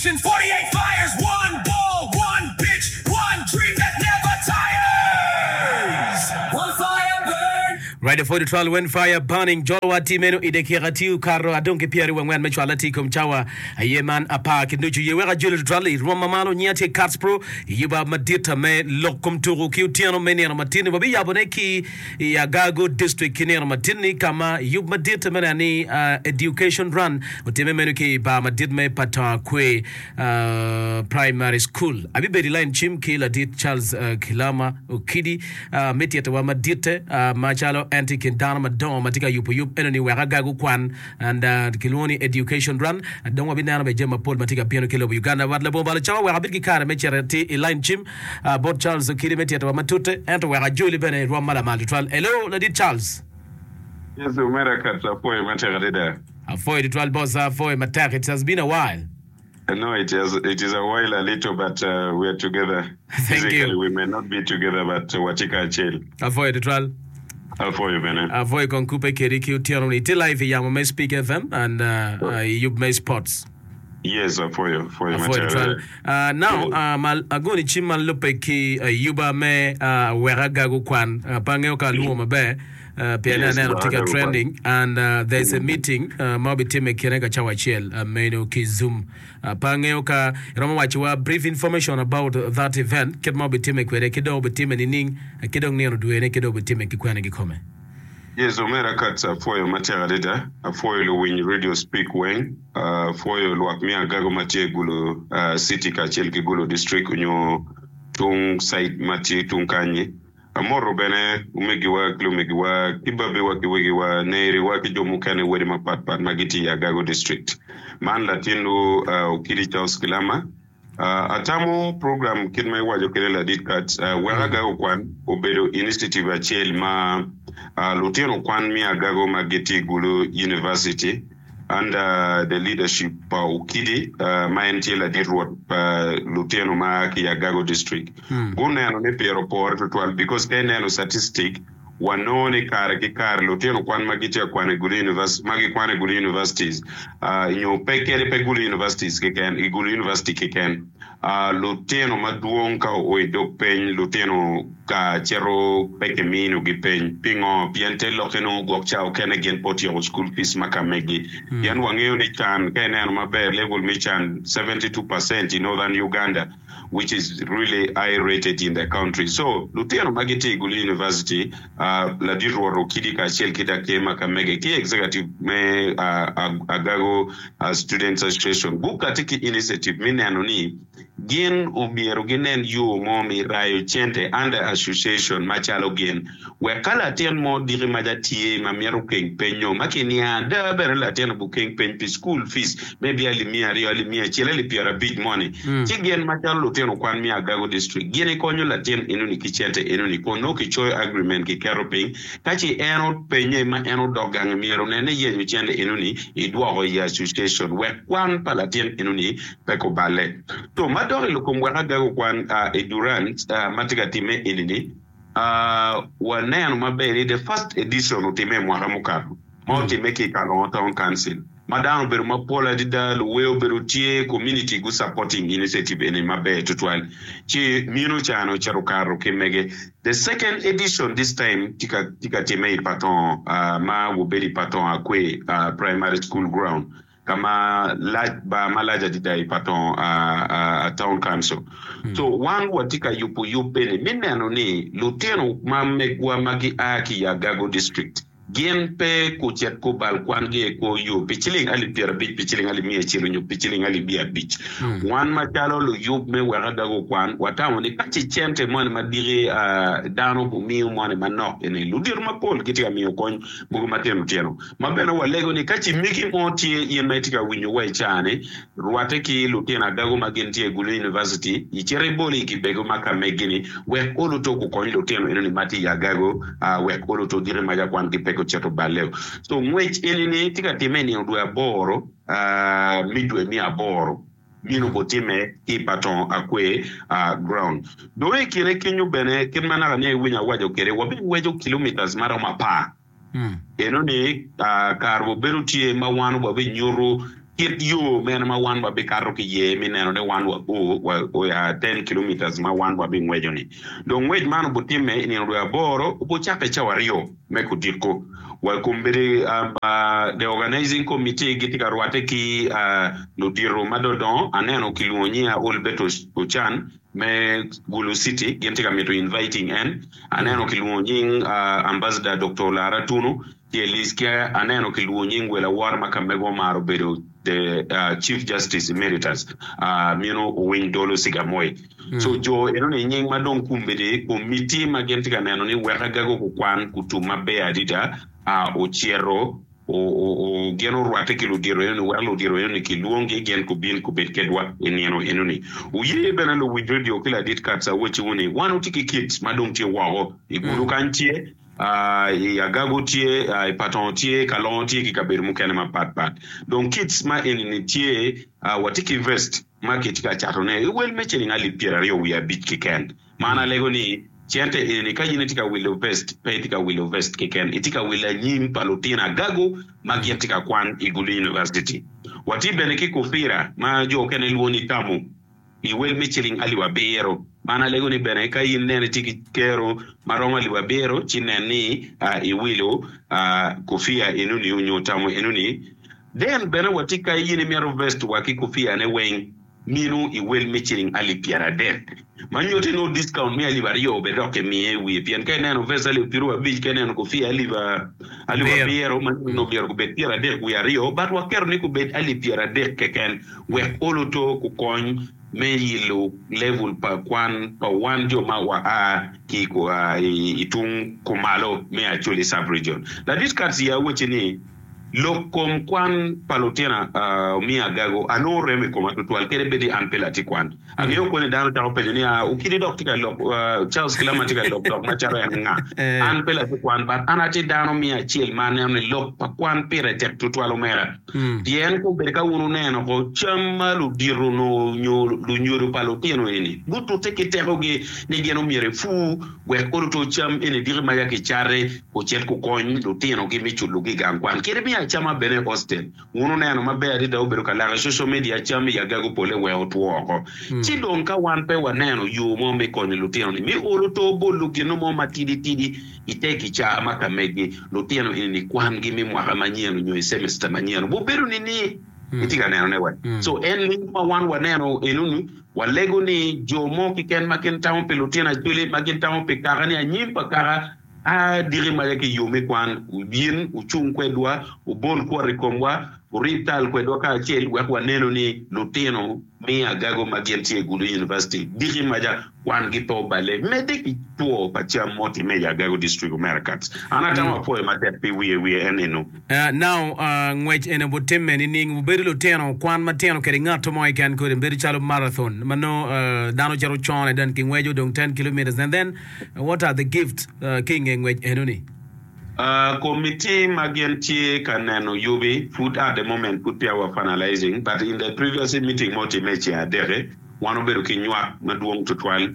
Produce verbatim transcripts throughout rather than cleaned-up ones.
nations, forty-eight fires, one ball, one pitch, one dream that never tires. One fire burn. Radio forty twelve when fire burning jolwa ti meno i dakika tye okato adong ki pyeraryo wangwen me cwalo ati i kom cawa aye man apar ki nucu ye wek ajoli tutwal i rwom ma malo nyinga tye Cats Pro i yuba madit me lok kom tuku ki otyeno me nino matin-ni wabiyabone ki i Agago District ki nino matin-ni ka ma yub madit me neno ni Education Run otimme meno ki i bar madit me Patonga Kwe Primary School. Abibedo i lain cim ki ladit Charles Kilama Okidi me titowa maditte macalo en tye i kin dano madongo ma tye ka yubo yub enoni wek Agago kwan and kilwongo ni Education Run. Dong wabineno bene jami mapol ma tye ka bino ki lobo Uganda. Wat labongo balo cawa wek abed ki kare me cito atir i lain cim bot Charles Okidi me titowa matute ento wek ajoli bene i rwom ma lamal tutwal. Hello ladit Charles. Yes omera Kats apwoyo matek adada. Apwoyo tutwal boss apwoyo matek it has been a while. No it has it is a while a little but uh, we are together. Thank Physically you. we may not be together but watye kacel. Apwoyo tutwal. Apwoyo bene. Apwoyo kong kupe kedi ki otyeno ni itye live i yamo me Speak F M and uh, uh, i yub me sports. Yes apwoyo apwoyo Apwoyo matek tutwal. adada. Uh, now Yes. uh, ma agoni cim ma lubbe ki uh, yuba me uh, wek agago kwan uh, pe angeyo ka alwongo maber uh, pien Yes, aneno wek tye ka agago kwan. trending and uh, there's a Mm. meeting uh, ma obitimme i kine ka cawa acel uh, meno ki Zoom. Uh, pe angeyo ka iromo wacowa brief information about that event kit ma obitimme kwede ki dong obitimme nining uh, ki dong nino dwene ki dong obitimme ki kwene kikome. Yes, omera Kats apwoyo matek adada. Apwoyo luwiny Radio Speak weng. Uh, apwoyo lwak me Agago ma tye i Gulu uh, City kacel ki Gulu District onyo tung site ma tye tung kanyi. Amoto bene omegiwa ki lumegiwa ki babiwa ki wegiwa neriwa ki jo mukene wedi mapatpat ma gitye i Agago District. Man latinwu uh, Okidi Charles Kilama. Uh, atamo program kit ma iwaco kede ladit Kats uh, wek Agago kwan obedo initiative acel ma uh, lutino kwan me Agago ma gitye i Gulu University under the leadership pa Okidi uh, ma en tye ladit rwot pa lutino ma ki i Agago District. Guneno ni pire opore tutwal because ka ineno statistic wanongo ni kare ki kare lutino kwan ma gitye ka kwano i Gulu University ma gikwano i Gulu Universities uh, nyo pe kede pe Gulu Universities keken i Gulu University keken uh, lutino madwong ka oo i dog peny lutino ka cito pe kiminogi peny pingo pien te lokke nongo gwok ca okene gin pe otyeko school fees ma ka megi pien wangeyo ni can ka ineno maber level me can seventy-two percent i northern Uganda, which is really high rated in the country. So lutino ma gitye i Gulu University uh, ladit rwot Okidi kacel ki dakema ka mege ki executive me uh, Agago uh, Students Association gukati ki initiative mi neno ni gin omyero ginen yo mo mi rayo cente under association macalo gin wek ka latin mo diki maca tye ma myero keng penyo ma kinia ada bene latin obukeng peny pi school fees maybe alip mia aryo, alip mia acel, alip pyerabic moni ci gin macalo lutino kwan me Agago District gin ikonyo latin enoni ki cente enoni kun nongo kicoyo agreement kiketo piny ka ci en openye ma en odok gange myero nene yenyo cente enoni idwoko i association wek kwan pa latin enoni pe kubale. So madok i kom wek Agago kwan uh, i Durant uh, ma tye ka timme enini uh, waneno maber ni the first edition otimme i mwaka mukato ma otimme ki i Kalongo Town Council ma dano obedo mapol adada, luwe obedo tye, community gu supporting initiative eni maber tutwal ci mino cano ocito kato ki mege. The second edition this time tye ka tye ka timme i Patongo uh, ma wobedo i Patongo Akwe uh, Primary School ground kama lac bar malac adada i Patongo uh, uh, Town Council. So wan watye ka yubo yub eni mi neno ni lutino ma megwa ma gia ki i Agago District gin pe kucit kubal kwan-gi i kor yo pi ciling alip pyerabic, pi ciling alip miya acel onyo pi ciling alip miya abic. Wan macalo luyub me wek Agago kwan watamo ni ka ci cente moni ma diki uh, dano gumiyo moni manok eni ludito mapol gitye ka miyo kony mogo matino tino ma bene walego ni ka ci migi mo tye in ma itye ka winyo wa i caa-ni rwatte ki lutino Agago ma gin tye i Gulu University icito ibolo i kibego ma ka megi-ni wek oluto gukony lutino enoni ma tye i Agago uh, wek oluto diki maca kwan gi pe gucito baleo. So ngwec enini tye ka timme i nino dwe aboro uh, mi dwe mi aboro bino botime ki i Patongo Akwe uh, ground. Dong i kine kenyo bene kit ma naka ni iwinyo awaco kede wabingweco kilometers maromo apar. Enoni uh, kare obedo tye ma wan wabinyuto Kit yo mene ma wan wabikato ki iye me neno ni wan wao wa ten kilometers ma wan wabingweco-ni? Dong ngwec man obutimme i nino dwe aboro, obucakke i cawa aryo me kudiko. Wa kombeddi the organizing committee gitye ka rwatte ki ludito ma dodongo. Aneno kilwongo nyinga Olbert Ochan me Gulu City, gin tye ka mito inviting en. Aneno kilwongo nying Ambassador Doctor Olara Tunu. Tye lic ki aneno kilwongo nying wel awora ma ka mego omaro bedo the Chief Justice Emeritus meno Owiny Dolo Sigamoi. So jo enoni nying ma dong kumbedi komiti ma gin tye ka neno ni wek agago kukwan kutum maber adida ocito gin orwatte ki ludito enoni wek ludito enoni kilwongi gin kubin kubed kedwa i nino enoni. Wuye bene luwiny radio ki ladit Katz awacciwu ni wan watye ki kit ma dong tye woko i gudo kany tye I Agago tye, i Patongo tye, Kalongo tye ki kabedo mukene mapat pat. Dong kits ma eni-ni tye, watye ki vest ma kitye ka catone i wel me ciling alip pyeraryo wiye abic keken. Man alego ni cente eni-ni ka in itye ka wilo vest, pe itye ka wilo vest keken, itye ka wilo anyim pa lutino Agago ma gin tye ka kwan i Gulu University. Watye bene ki kufira ma jo okene lwongo ni tamu. I wel me ciling alip abiro. Man alego ni bene ka in nene itye ki kero ma romo alip abiro ci nen ni iwilo kofia enoni onyo tamo enoni. Then bene watye ka in imito vest wa ki kofia ne weng mino i wel me ciling alip pyeradek. Ma nyutti nongo discount me alip aryo bene dok kimiye i wiye pien ka ineno vest alip piero abic ka ineno kofia alip alip abiro ma nongo myero gubed pyeradek wiye aryo but waketo ni gubed alip pyeradek keken. Wek oluto kukony me yilo level pa kwan pa wan jo ma wa a ki i tung kumalo me Acholi Sub-Region. Ladit Katz ya wacci ni, Lok kom kwan pa lutina omiyo agago anongo remo i koma tutwal kadi bed ni an pe latin kwan. Angeyo kwo ni dano cako penyo ni, Aa, Okidi dok tye ka lok, Charles Kilama tye ka lok dok macalo en nga? An pe latin kwan, but an atye dano miya acel ma aneno ni lok pa kwan pire tek tutwal omera. Pien kombeddi ka wun wuneno ko cam ma ludito onongo nyo lunyodo pa lutino eni gutute ki tekogi ni gin omyero epur wek oluto cam eni diki ma ya kicate ocit kukony lutinogi me culogi i gang kwan kadi me acama bene i hostel. Wun wuneno maber adada obedo ka lak i social media cam i agago pole wek otwo oko. Ci dong ka wan pe waneno yo mo me konyo lutino ni me oluto bolo gino mo matidi tidi I te kicaa ma ka megi, lutino eni kwangi me mwaka manyen onyo i semester manyen obubedo nini? Itye ka nenone wa? So en ling ma wan waneno enoni, walego ni jo mo keken ma gin tamo pi lutino Acholi, ma gin tamo pi kaka ni anyim pa kaka, a diki maca ki i yo me kwan, wubin wucung kwedwa, wubol kwot i komwa, wurib tal kwedwa kacel wek wanenu ni lutino me agago ma gin tye i Gulu University diki maca kwangi pe oballe. Medde ki two pa cam ma otimme i Agago District Omera Katz. An atamo apwoyo matek pi wiye wiye en eno. Now, ngwec eni obutimme nining? Wubedo lutino kwan matino kede ngat mo keken kodi bedo calo marathon ma nongo dano cito con then kingweco dong ten kilometers and then what are the gifts ki inge ngwec enoni? Committee ma gin tye ka neno yubi pud at the moment pud peya wa finalizing but in the previous meeting ma otimme i ceng adek-ki wan obedo ki nywak madwong tutwal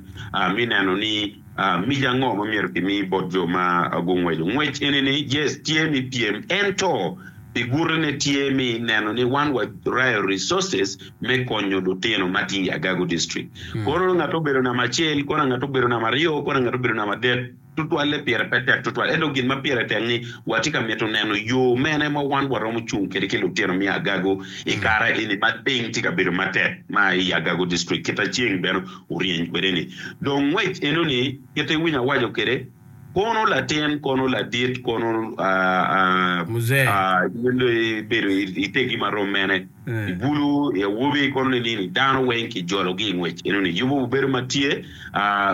me neno ni mic ango ma myero kimi bot jo ma gungweco ngwec eni ni yes tye me pyem ento pi gutine tye me neno ni wan wa rayo resources me konyo lutino ma tye i Agago district kono ngat obedo namba acel kono ngat obedo namba aryo kono ngat obedo namba adek Tutwalle pire pe tek tutwal, ento gin ma pire tek ni watye ka mito neno yo mene ma wan waromo cung kwede ki lutino me Agago i kare eni ma piny tye ka bedo matek ma i Agago District kita ceng bene oryeny kwede ni. Dong ngwec eno ni kit iwinyo awaco kwede kono latin kono ladit kono Muzee. bedo itegi marom mene. I bulu, i awobi, kono ni nini dano weng ki jolo gi i ngwec eno ni yubu obedo ma tye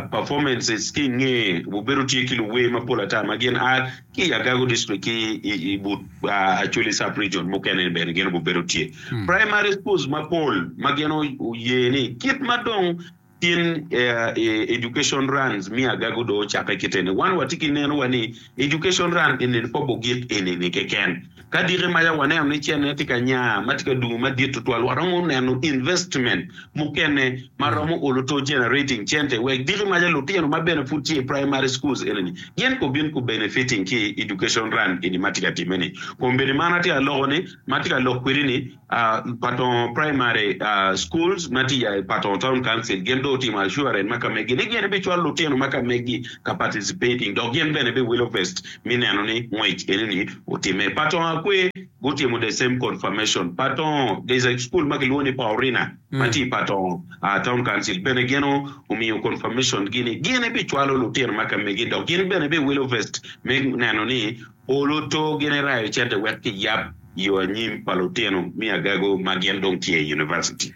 performances ki inge obedo tye ki luwer mapol ata ma gin a ki i Agago district ki i but Acholi sub region mukene ni bene gin obedo tye. Primary schools mapol ma gin oye ni kit ma dong Tin education runs me agago dong ocakke kite ni wan watye ki neno wa ni education run eni ni pe obogik eni ni keken. Ka diki maca waneno ni cene tye ka nya ma tye ka dungo madit tutwal, waromo neno investment mukene ma romo olo to generating cente wek diki maca lutino ma bene pud tye i primary schools eni-ni gin gubin ku benefiting ki i education run eni ma tye ka timme-ni. Kombeddi man atye ka loko ni ma atye ka lok kwedi ni Patongo Primary Schools ma tye i Patongo Town Council gin dong otimo assurance ma ka megi ni gin bicwalo lutino ma ka megi ka participating dok gin bene biwilo vest me neno ni ngwec eni-ni otimme. Patongo Akwe gutimo the same confirmation. Patongo, there is a school ma kilwongo ni Paorina ma tye i Patongo Town Council bene gin omiyo confirmation gi ni gin bicwalo lutino ma ka megi dok gin bene biwilo vest me neno ni olo to gin erayo cente wek kiyab yo anyim pa lutino me agago ma gin dong tye i university.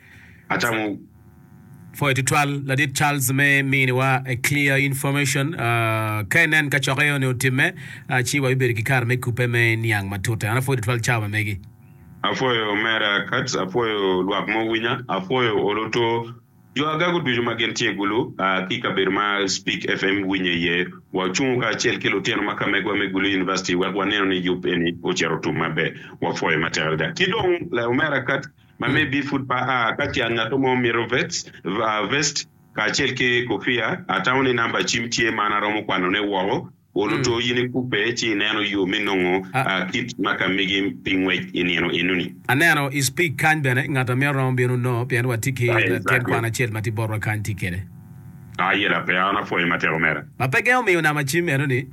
Atamo. Pwoyo tutwal Ladit Charles me miniwa a clear information. Ka inen ka cokke eni otimme, ci wabibedo ki kare me kubbe me niang matute. An apwoyo tutwal cawa ma megi. Apwoyo omera Katz, apwoyo lwak ma owinya, apwoyo oloto Jo agago ducu ma gin tye i Gulu ki i kabedo ma Speak F M winye iye, wacungo kacel ki lutino ma ka megwa me Gulu University wek waneno ni yub eni ocito otum maber. Wapwoyo matek adada. Ki dong, omera Kurt, ma me be pud pa a ka tyen ngat mo mito vest kacel ki kofia, atamo ni namba cim tye ma an aromo kwanone woko. Olo to in ikubbe ci ineno yo me nongo kit ma ka megi pi ngwec i nino enoni. Aneno i speak kany bene ngat a mito romo bino nongo pien wa tye ki latin kwan acel ma tye botwa kany tye kede. Ayela pe an apwoyo matek omera. Ma pe gengo miyo namba cim enoni.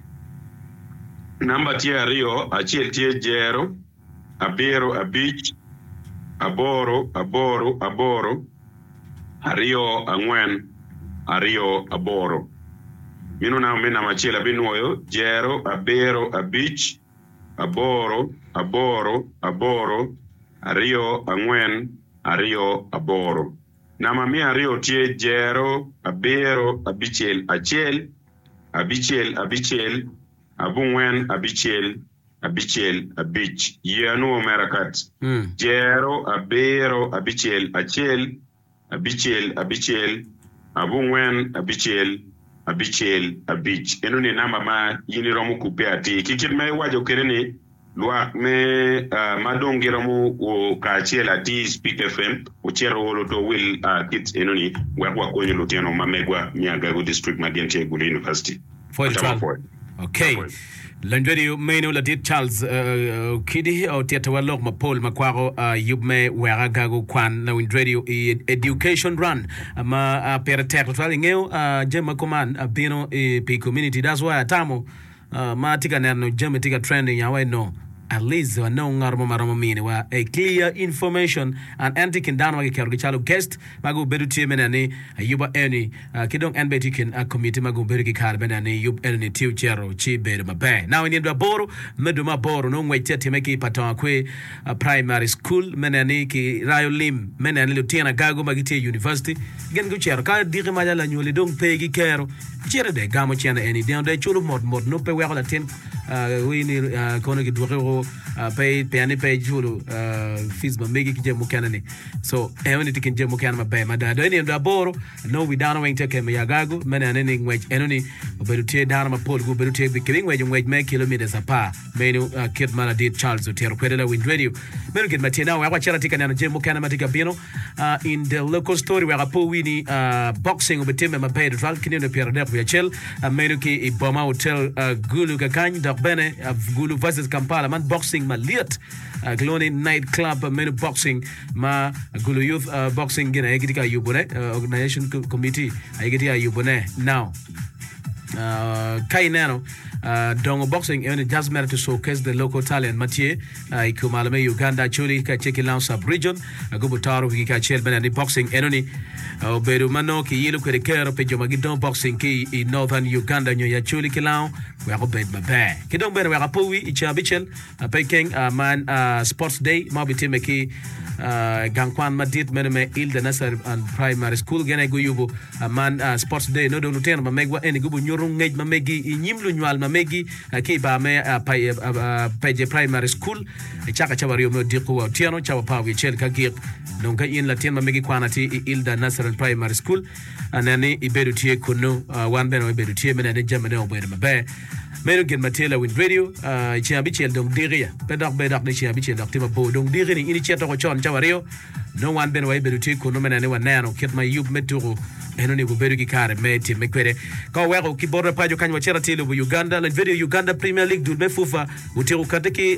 Namba tye aryo, acel tye jero, abiro, abic, aboro, aboro, aboro, aryo, angwen, aryo, aboro. Mino namba me namba acel abinwoyo, jero, abiro, abic, aboro, aboro, aboro, aryo, angwen, aryo, aboro. Namba me aryo tye jero, abiro, abicel, acel, abicel, abicel, abongwen, abicel, abicel, abic. Ye anwo omera kat. Jero, abiro, abicel, acel, abicel, abicel, abongwen, abicel, abicel, abic. Eno-ni namba ma in iromo kubbe atir. Ki kit ma iwaco kwede ni, lwak me ma dong giromo o kacel atir i Speak F M ocito olo to wil kit eno-ni wek wakonyo lutino ma megwa me Agago District ma gin tye i Gulu University. Pwoyo Atamo tutwal. pwoyo. Okay. Apwoyo. Lony radio meno ladit Charles Okidi otitowa lok mapol ma kwako yub me wek agago kwan lawiny radio i Education Run ma pire tek tutwal. Ingeyo jami ma kuman bino pi community, that's why atamo ma atye ka neno jami tye ka trending awa eno at least wanong ngat mo ma romo miniwa a clear information and en tye i kin dano ma kiketogi calo guest ma gubedo tye me neno ni ayuba eni ki dong en bene tye i kin committee ma gubedo ki kare me neno ni yub eni tye ocito ci bedo maber. Now i nino aboro me dwe me aboro nongo ngwec tye atime ki i Patongo Akwe Primary School me neno ni ki rayo lim me neno ni lutino agago ma gitye i university gin gucito ka diki maca lanywali dong pe ki kero cito dong egamo cene eni deno dong eculo mot mot nongo pe weko latin wii ni kono kidwoki woko pe pien ni pe iculo fees ma megi ki jami mukene ni so enoni tye kin jami mukene maber mada dong i nino aboro nongo wi dano weng tye ka kemo i agago me neno ni ngwec enoni obedo tye dano mapol gubedo tye kibingweco ngwec me kilometers apar meno kit ma ladit Charles otito kwede lawiny radio meno gin ma tye now wek wacit atye ka neno jami mukene ma tye ka bino in the local story wek apo wi ni boxing obitimme maber tutwal ki nino pyeradek wiye acel meno ki i Boma Hotel Gulu kakany dok bene Gulu versus Kampala man boxing malyet kilwongo ni night club meno boxing ma Gulu Youth Boxing gin aye gitye ka yubone organization committee aye gitye ka yubone now ka ineno dongo boxing eni just mere to showcase the local talent ma tye i kumalo me Uganda Acholi kacel ki Lango sub region gubo toro wigi kacel me neno ni boxing enoni obedo ma nongo kiyilo kwede kero pi jo ma gidongo boxing ki i Northern Uganda nyo i Acholi ki Lango wek obed maber. Ki dong bene wek apo wi i ceng abicel pe keng man Sports Day ma obitimme ki gang kwan madit meno me Hilda Nursery and Primary School gin aye guyubo man Sports Day nongo dong lutino ma megwa eni gubo nyuto ngec ma megi i nyim lunywal ma megi ki i bar me Peje Primary School icaka cawa aryo me odiko wa otyeno cawa apar wiye acel ka gik dong ka in latin ma megi kwan atir i Hilda Nursery and Primary School nen ni ibedo tye kunnu wan bene wabedo tye me neno ni jamine obedo maber. Meno gin ma tye lawiny radio i ceng abicel dong diki ya pe dok bed dok ni ceng abicel dok tye mabor dong diki ni in icito woko con cawa aryo nongo wan bene wabibedo tye kunnu me neno ni waneno kit ma yub me tuku eno ni gubedo ki kare me timme kwede. Ka waweko ki bot paco kany wacito atir i lobo Uganda lany video Uganda Premier League dul me FUFA otyeko kati ki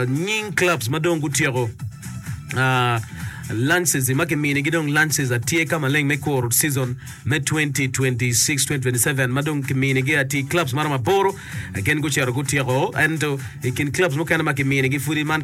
nying clubs ma dong gutyeko Lances ma kiminigi dong lances atye ka maleng me kuro season me twenty twenty-six twenty twenty-seven ma dong kiminigi atir clubs maromo aboro gin gucito gutyeko ento i kin clubs mukene ma kiminigi pudi man